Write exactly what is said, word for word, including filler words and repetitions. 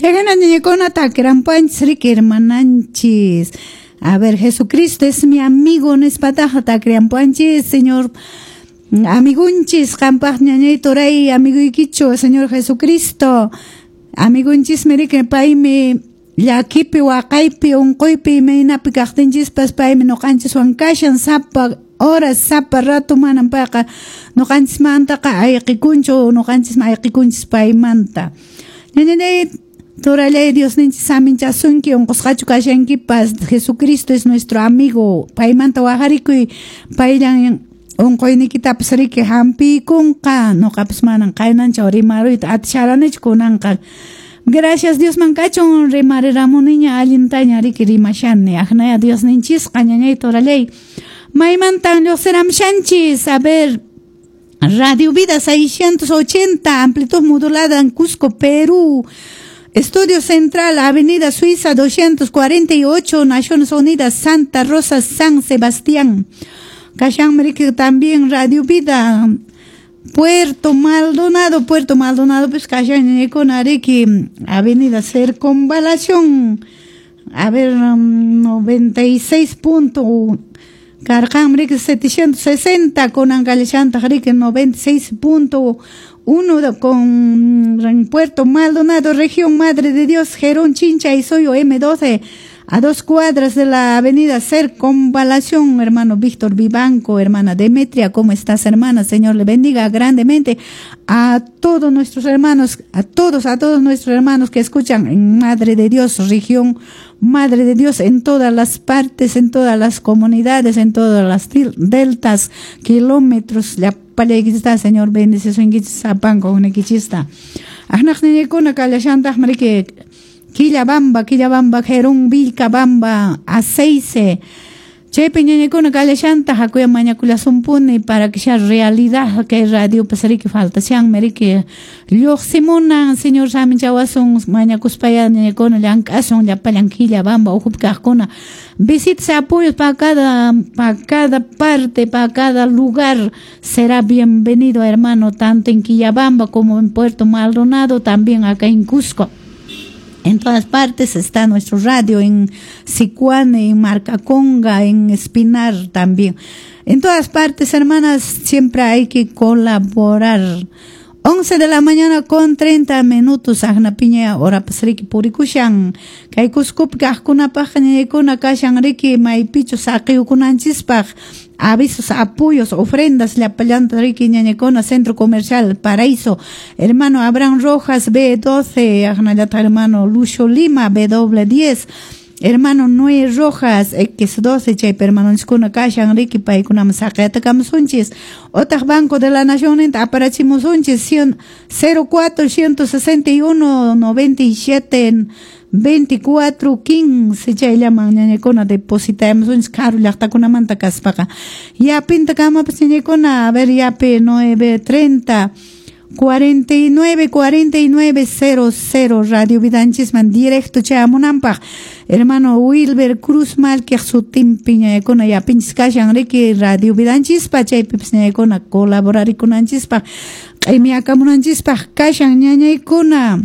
Chayhina ñañakuna takirampuanchis riki hermananchis. A ver, Jesucristo es mi amigo nispataqa takriampuanchis, Señor amigunchis qampaq ñañay turay amiguykichu Señor Jesucristo. Amigunchismi riki paymi llakipi waqaypi unquypi imaynapi kaqtinchispas paymi ñuqanchiswan kashan sapa horas sapa rato manan payqa ñuqanchismantaqa ayqikunchu ñuqanchismi ayqikunchis paymanta. Ñañay turallay Diosninchis saminchasunki unqusqachu kashankipas Jesucristo es nuestro amigo paymanta wajarikuy payllan unquynikitapas riki hampiykunqa ñuqapas manan qaynanchaw rimaruyta atisharanichu kunanqa. Gracias Diosman kachun rimariramuniña allintaña riki rimashani aqnaya Diosninchisqa ñañay turallay. Maymantan lluqsiramshanchis a ver Radio Vida seiscientos ochenta amplitud modulada en Cusco, Perú. Estudio Central, Avenida Suiza doscientos cuarenta y ocho, Naciones Unidas, Santa Rosa, San Sebastián. Kashan riki también Radio Vida, Puerto Maldonado, Puerto Maldonado, pues kashan ñañakuna riki, Avenida Circunvalación, a ver, noventa y seis punto karqan riki setecientos sesenta, kunan kallashantaq riki noventa y seis punto uno con Puerto Maldonado, región Madre de Dios, Gerón Chincha y Soyo M doce, a dos cuadras de la avenida Circunvalación, hermano Víctor Vivanco, hermana Demetria, ¿cómo estás, hermana? Señor le bendiga grandemente a todos nuestros hermanos, a todos, a todos nuestros hermanos que escuchan en Madre de Dios, región Madre de Dios, en todas las partes, en todas las comunidades, en todas las deltas, kilómetros, la palekista, Señor, bendice su sapanco, uniquichista. Ajnaq niñikuna kallashantaq marike Quillabamba, Quillabamba, Gerón, Vilcabamba, Aceice. Chaypi ñañakuna kallashanta hakuya mañakullasumpuni para que sea realidad que radio pasariki faltashan riki lluqsimunan Señor saminchawasun mañakuspaya ñañakuna llank'asun llapallan Quillabamba ukhupi kaqkuna visitas apoyos para cada, para cada parte, para cada lugar será bienvenido hermano, tanto en Quillabamba como en Puerto Maldonado, también acá en Cusco. En todas partes está nuestro radio, en Sicuane, en Marcaconga, en Espinar también. En todas partes, hermanas, siempre hay que colaborar. once de la mañana con treinta minutos, aqnapiña hora pasriki purikushan. Kay Cuscopi kaqkunapaq ñañaykuna kashan riki maypichu saqiyukunanchispaq avisos, apoyos, ofrendas, llapallanta riki ñañaykuna, Centro Comercial Paraíso, hermano Abraham Rojas B doce, aqnallata hermano Lucio Lima B diez, hermano Noé Rojas X doce, chaypi hermanonchiskuna kashan riki paykunaman saqiyatakamusunchis. Otaq Banco de la Nación aparachimusunchis cero cuatro ciento sesenta y uno noventa y siete veinticuatro quince chayllaman ñañaykuna depositamusunchis karu llaqtakunamanta kaspaqa. Yapinta kamapas ñañaykuna, a ver yapi nueve treinta cuarenta y nueve cuarenta y nueve cero cero Radio Vidanchisman directo chayamunanpaq hermano Wilber Cruz Malkiq sutinpi ñañaykuna yapinchis kashan riki Radio Vidanchispa chaypipis ñañaykuna colaborarikunanchispaq q'imiakamunanchispaq kashan ñañaykuna.